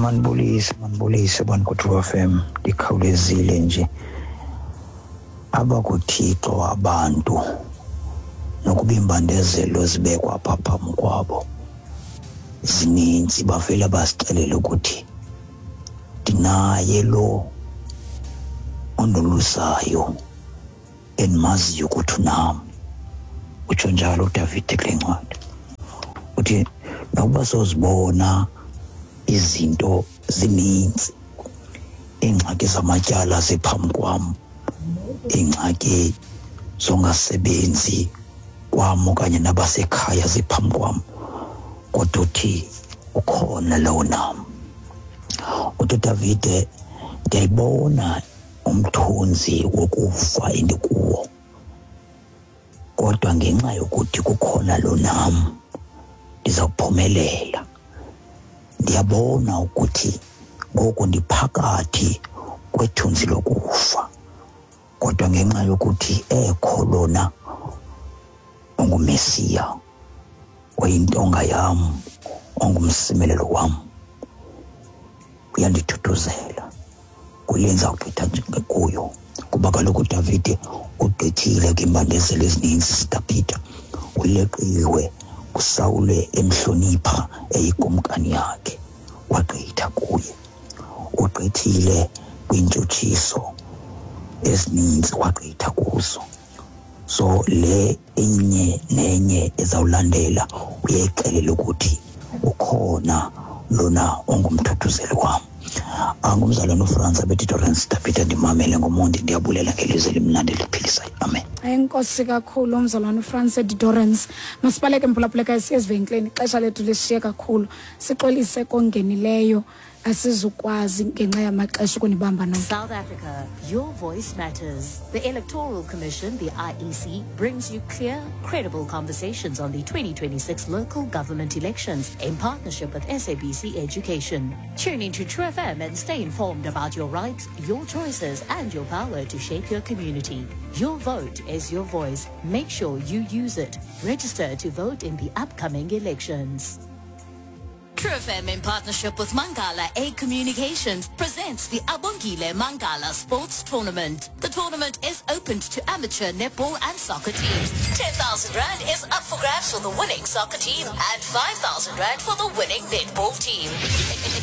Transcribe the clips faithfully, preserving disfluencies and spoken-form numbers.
Manibulise, manibulise bantu ku-True F M. Ndikhawulezile nje. AbakuThixo abantu nokuba iimbandezelo zibekwa apha phambi kwabo zininzi, bavele basixelele ukuthi ndinaye lo ondolusayo endimaziyo ukuthi unam. Utsho njalo uDavide kule ncwadi, uthi nokuba sozibona izinto zininzi, iingxaki zamatyala ziphambi kwam, iingxaki zongasebenzi kwam okanye nabasekhaya ziphambi kwam, kodwa uthi ukhona lowo nam. Uthi uDavide, ndiyayibona umthunzi wokufa endikuwo, kodwa ngenxa yokuthi kukhona lo nam, ndiza kuphumelela. Ndiyabona ukuthi ngoku ndiphakathi kwethunzi lokufa, kodwa ngenxa yokuthi ekho lona onguMesiya, oyintonga yam, ongumsimelelo wam, uyandithuthuzela kule ndizawugqitha kuyo. Kuba kaloku uDavide ugqithile kwiimbandezelo ezininzi zikaPeter, uleqiwe uSawule emhlonipha eyikumkani yakhe, wagqitha kuye. Ugqithile kwiintshutshiso ezininzi, wagqitha kuzo. So le enye nenye ezawulandela uyayixelela ukuthi ukhona lona ongumthuthuzeli wam. Angumzalwane uFrance abethi Davide, ndimamele ngomonde. Ndiyabulela ngelizwe elimnandi eliphilisayo. Amen. Enkosi kakhulu, umzalwane uFrance Dorens. Masibaleke, mphulaphuleka, siye ezivenkileni, ixesha lethu lishiye kakhulu. Sixolise kongenileyo, asizukwazi ngenxa yamaxesha ukunibamba nonke. South Africa, your voice matters. The Electoral Commission, the I E C, brings you clear, credible conversations on the twenty twenty-six local government elections in partnership with S A B C Education. Tune into True F M and stay informed about your rights, your choices, and your power to shape your community. Your vote is your voice. Make sure you use it. Register to vote in the upcoming elections. True F M, in partnership with Mangala A Communications, presents the Abongile Mangala Sports Tournament. The tournament is open to amateur netball and soccer teams. ten thousand Rand is up for grabs for the winning soccer team and five thousand Rand for the winning netball team.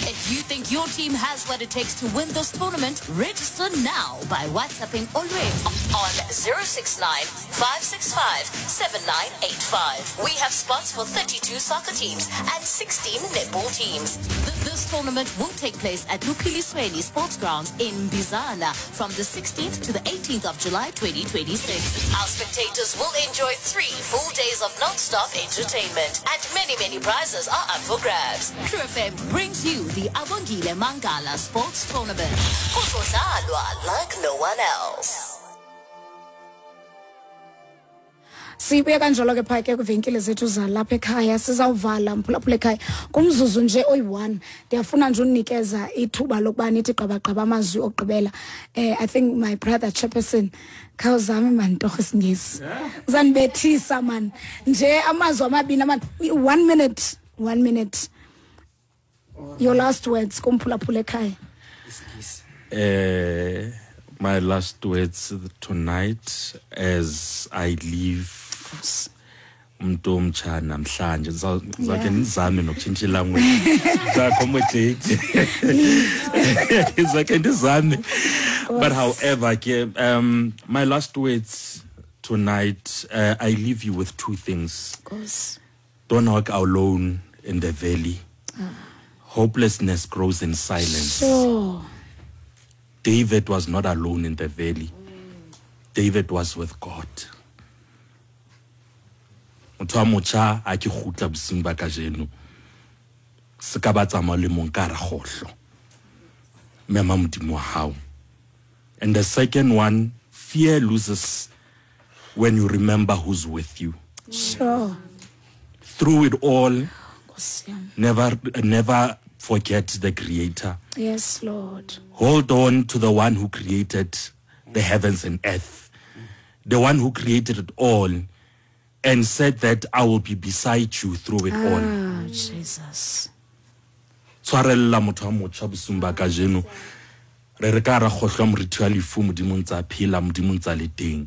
If you think your team has what it takes to win this tournament, register now by WhatsApping Olwethu on zero six nine five six five seven nine eight five. We have spots for thirty-two soccer teams and sixteen netball teams. Th- This tournament will take place at Luphilisweni Sports Grounds in Bizana from the sixteenth to the eighteenth of July twenty twenty-six. Our spectators will enjoy three full days of non-stop entertainment, and many, many prizes are up for grabs. True F M brings you the Abongile Mangala Sports Tournament. Kuzodlalwa like no one else. Sibuye kanjalo ke phaa ke kwiivenkile zethu zalapha ekhaya. Sizawuvala, mphulaphula ekhaya, kumzuzu nje oyi-one. Ndiyafuna nje unikeza ithuba lokuba nithi gqabagqaba amazwi okugqibela. um i think my brother chairperson, khawuzame mani torho isiNgesi, uzandibethisa mani nje amazwi amabini amani, one minute, one minute, your last words kumphulaphula ekhaya. Uh, my last words tonight as I leave umuntu omtsha namhlanje, ngizake ndizame nokutshintsha ilanguage, accommodate, ngizake ndizame. But however ke, um my last words tonight, uh, I leave you with two things. Nkosi. Don't walk alone in the valley. Hopelessness grows in silence. Sure David was not alone in the valley. David was with God. Motho wa motjha, a ke kgutla bosiung ba kajeno, se ka ba tsamaya le mong ka hara kgohlo, mema Modimo wa hao. And the second one, fear loses when you remember who's with you. Sure through it all, Nkosi yami. never never forget the Creator. Yes, Lord. Hold on to the one who created the heavens and earth, the one who created it all and said that I will be beside you through it all. Ah, Jesus. Tshwara. Tshwarella motho wa motjha bosiung ba kajeno. Re re ka ra kgohlwa morithi wa lefu, Modimo ntse a phela, Modimo ntse a le teng.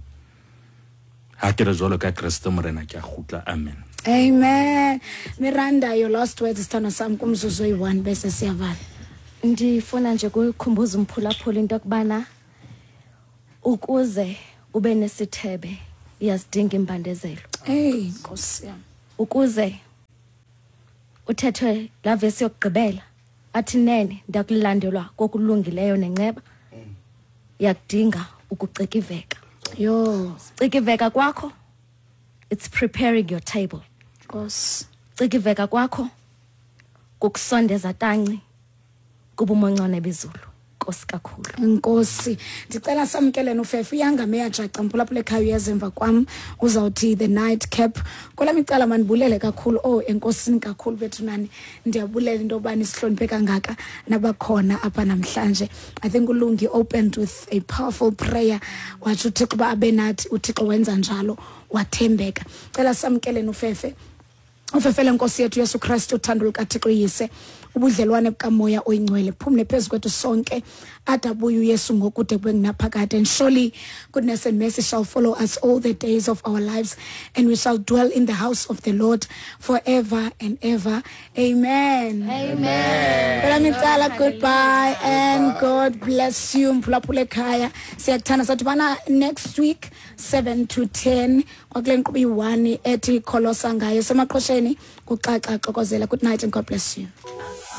Ha ke re jwalo ka Kreste Morena ke a kgutla. Amen. Amen. Miranda, your last words, sithando sami, kumzuzu oyi-one bese siyavala. Ndifuna nje kukhumbuza umphulaphula into yokubana ukuze ube nesithebe iyazidinga imbandezelo. Hey, Nkosi yami. Ukuze uthethwe la vesi yokugqibela athi nene ndakulandelwa kokulungileyo nenceba, iyakudinga ukucikiveka. Yo. Cikiveka kwakho, it's preparing your table. Nkosi. Cikiveka kwakho kukusondeza tanci kubumoncane bezulu. Nkosi kakhulu. Nkosi, ndicela samkele nofefe uyangame yajaca mphulaphula ekhaya uyeza emva kwam uzawuthi the night cap. Kwelam icala mandibulele kakhulu, oh enkosini kakhulu bethu nani, ndiyabulela into yoba nisihloniphe kangaka nabakhona apha namhlanje. I think uLungi opened with a powerful prayer, watsho uThixo uba abe nathi, uThixo wenza njalo, wathembeka. Cela samkele nofefe. Ufefele Nkosi yethu Yesu Kristu, uthando lukaThixo Yise, ubudlelwane bukaMoya oyiNgcwele phumle phezu kwethu sonke ade abuye uYesu ngokude kube ngunaphakade. And surely goodness and mercy shall follow us all the days of our lives, and we shall dwell in the house of the Lord forever and ever. Amen. Amen. Kwelam icala, goodbye and God bless you. Mphulaphula ekhaya, siyakuthanda. Sadibana next week seven to ten kwakule nkqubo iyi-one ethi kholosa ngayo semaqhosheni kuxaxa xokozela. Good night and God bless you.